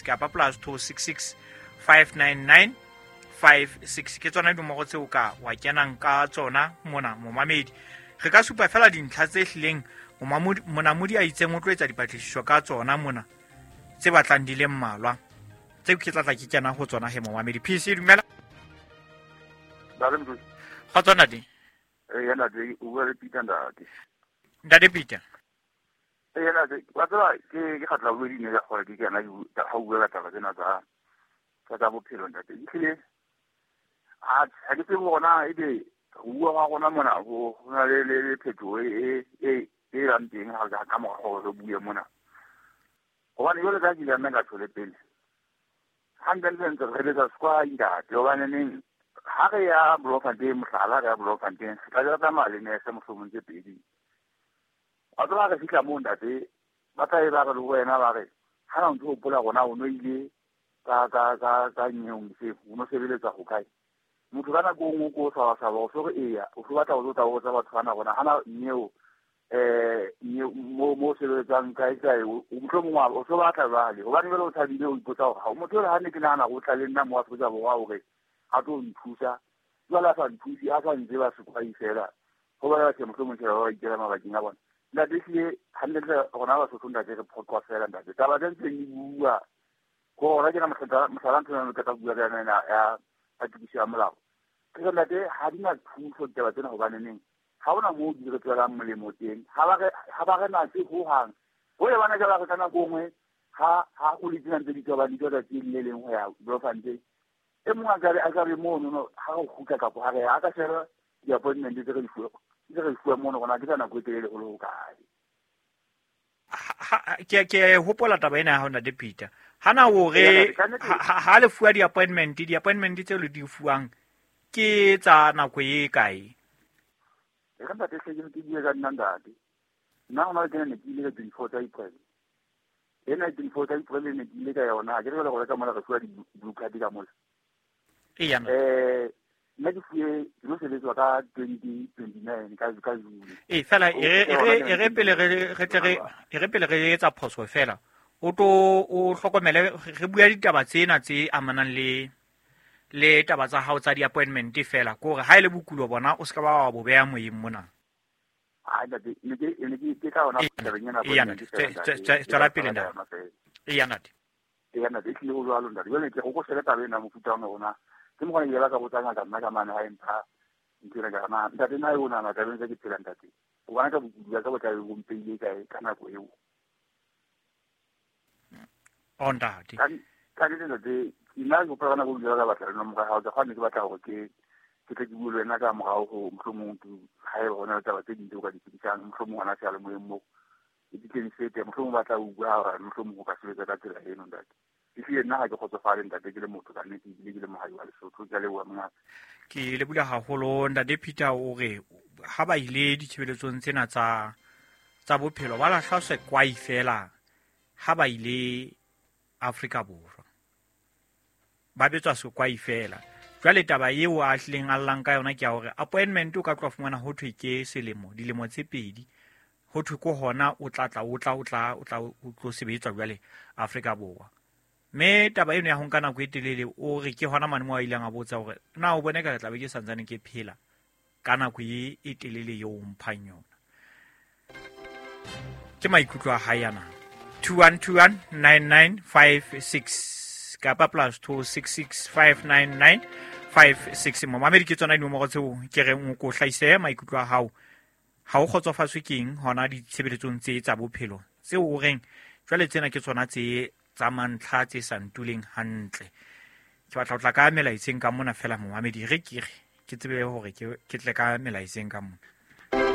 kapa +266 599 56. Ke tsona dinomoro tseo ka wa kenang ka tsona mona momamedi. Re ka supa fela dintlha tse hlileng monamodi a itseng o tlo etsa dipatlisiso ka tsona mona, tse batlang di le mmalwa tseo ke tlatla ke kena ho tsona he momamedi. PC, dumela. Ga tsona di. Ee, ntate, o bua le Peter, ntate. Ntate Peter. Ee, ntate, wa tseba ke kgatla bobedi ne ka gore ke kena ga o bua ka taba tsena tsa bophelo, ntate. Ehlile ha ke tsebe gona ebe go bua ga rona mona go na le phetoho e bang teng ha ka mora gore re bue mona. Gobane jwale ka ke ile nna ka tshole pele. Hantle ntse re betsa sekwai, ntate, hobaneneng ha re ya Bloemfontein, mohlala, re ya Bloemfontein, re tla re tsamaya le nese mohlomong tse pedi. Wa tseba re fihla moo, ntate, ba tla e ba re le wena ba re ha na o ntso hopola rona o no ile ka nyeong se o no sebeletsa ho kae. Motho ka nako e nngwe ko o swabaswaba, o so re eya, o so batla ho tlo botsa batho bana rona hana nyeo mo sebeletsang kae kae, mohlomong o so batla jwale hobane jwale o thabile, o ipotsa hore ha motho ole ha ne ke nahana o tla le nna mo Afrika Borwa hore a tlo nthusa, jwale a sa nthuse, a sa ntseba sekwai fela, ho bona batho mohlomong tjhe ba ikela mabakeng a bona. Ntate, ehlile hantle rona Basotho, ntate, re phoqwa fela, ntate. Taba tse ntseng di bua ko rona ke na mohlala ntho ena ke tla bua ka yona ena ya tokiso ya molao. Ke re, ntate, ha di na thuso ditaba tsena, hobaneneng ha hona moo di re tswelang molemo teng, ha ba re natse hohang. Ho le bana ka ba re ka nako nngwe ha go le tsena ntse di tswa ba di tswa tsatsi le leng ho ya Bloemfontein, e mongwe a ka be mono no ha re kgutla kapa ha re ya, a ka sheba di-appointment tse re di fuwa mono rona ke tsa nako e telele ho le hokae. Ke hopola taba ena ya hao, ntate Peter. Hana o re ha le fuwa di-appointment tseo le di fuwang ke tsa nako e kae? E re ntate, hle ke bue ka nna, ntate. Nna hona le kena ne ke ile ka 24 tsa April. Ena 24 tsa April ne ke ile ka yona, ha ke re jwale go reka mola re fuwa di-blue card ka mola. Eya. Nna ke fuwe ke no sebetswa ka 2029 ka June. Ee, fela e re pele re tle re e re pele re etsa phoso fela, o tlo o hlokomele re bua ditaba tsena tse amanang le taba tsa hao tsa di-appointment fela, ke hore ha e le bokulo bona o se ka ba wa bo beha moyeng mona. Ha ntate, ne ke ka hona tabeng ena appointment fela, ntate. Tswela pele, ntate. Eya, ntate. Eya, ntate, ehlile ho jwalo, ntate. Jwale ke go shebe taba ena mofuta wa rona. Ke mo gona ke ba ka botsa ngaka nna ka mane ha e mpha ntho ena ka re, na ntate, na e o nahana tabeng tse ke phela, ntate? O bona ka bokudi ba ka bo tlabe bo mpeile kae ka nako eo? O ntate. Ka nnete, ntate, nna ke hopola ka nako e ka batla le nomoro ya hao, ke kgona ke batla hore ke tle ke bue le wena ka morao ho mohlomong ke ha eba hona le taba tse ding tseo ka di tsebisang, mohlomong hona seyalemoyeng moo ke di tle di fete, mohlomong ba tla utlwa hore mohlomong ho ka sebetsa ka tsela eno, ntate. Ehlile nna ha ke kgotsofale, ntate, ke le motho ka nnete, ebile ke le mohai wa Lesotho. Ke a leboha, mongaka. Ke lebohile haholo, ntate Peter. O re ha ba ile ditshebeletsong tsena tsa bophelo ba lahla sekwai fela ha ba ile Afrika Borwa, ba betswa sekwai fela. Jwale taba eo a hlileng a llang ka yona ke ya hore appointment o ka tloha fumana ho thwe ke selemo, dilemo tse pedi, ho thwe ke hona o tla tla, o tla, o tla, o tla, o tlo sebetswa jwale Afrika Borwa. Mme taba eno ya ho nka nako e telele, o re ke hona mane moo a ileng a botsa hore na o bone ka re tla be ke santsane ke phela ka nako e telele eo o mphang yona. Ke maikutlo a hae ana. 21219956 kapa +266 599 56. Momamedi, ke tsona dinomoro tseo ke reng o ko hlahise maikutlo a hao. Ha o kgotsofatswe ke eng hona ditshebeletsong tse tsa bophelo tseo o reng jwale tsena ke tsona tse tsa mantlha tse sa ntuleng hantle? Ke batla ho tla ka melaetseng ka mona fela, momamedi, re ke re ke tsebe hore ke tle ka melaetseng ka mona.